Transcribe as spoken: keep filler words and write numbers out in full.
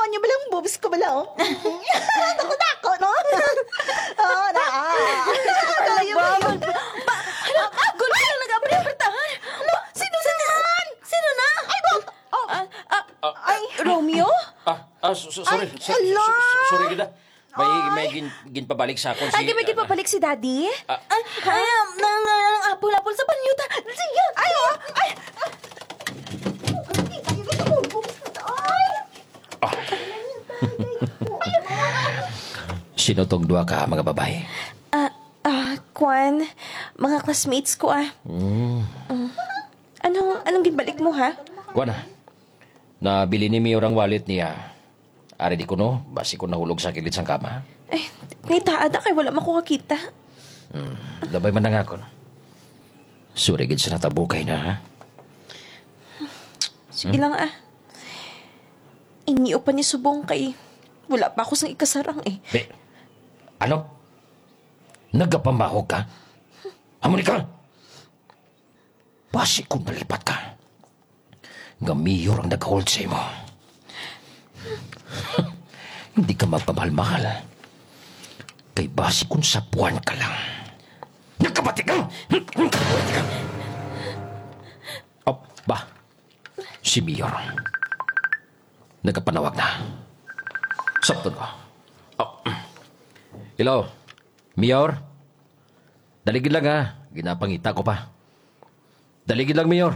Ano ba lang boobs ko bala, oh? Dako-dako, no? Oo, na. Talaga ba? Ba, ano? Gulo na nag-abri ang pertahan. Ba, sino na? Sino na? Ay, ba? Oh. Ah, ah, ay, Romeo? Ah, ah, so- so- sorry. Ay, So- so- hala. so- sorry kita. May, may Ay. gin, ginpabalik sa akon si Ay, may ginpabalik si Daddy? Ah. Ay, ay, ah, nang, nang, nang apol-apol sa panyo ta. Sige. Ay, oh, ay. Ay. Ah. Sino tong duha ka mga babae? Ah, ah, kwan, mga classmates ko, ah. Mm. Mm. Anong, anong ginbalik mo, ha? Kuan na. Nabili ni Mayor ang wallet niya. Ari di ko, no? Basi ko nahulog sa kilid sang kama. Ay, nitaa na kay wala man ko kakita. Hmm, labay man na nga ako, no? Sorry gid sa natabo kay na, ha? Sige lang, ah. Inyo pa ni subong kay wala pa ako sang ikasarang, eh. Be, ano? Nagapamahog ka? Amo ni ka? Basi kung nalipat ka, nga mayor ang nag-hold sa imo. Hindi ka magpamahal-mahal. Kay basi kung sapuan ka lang. Nagkabati ka! Nagkabati ka! Oh, ba? Si Mayor. Nagapanawag na. Sabton ko. Oh. Hello, Mayor? Dali gid lang, ha. Ginapangita ko pa. Dali gid lang, Mayor.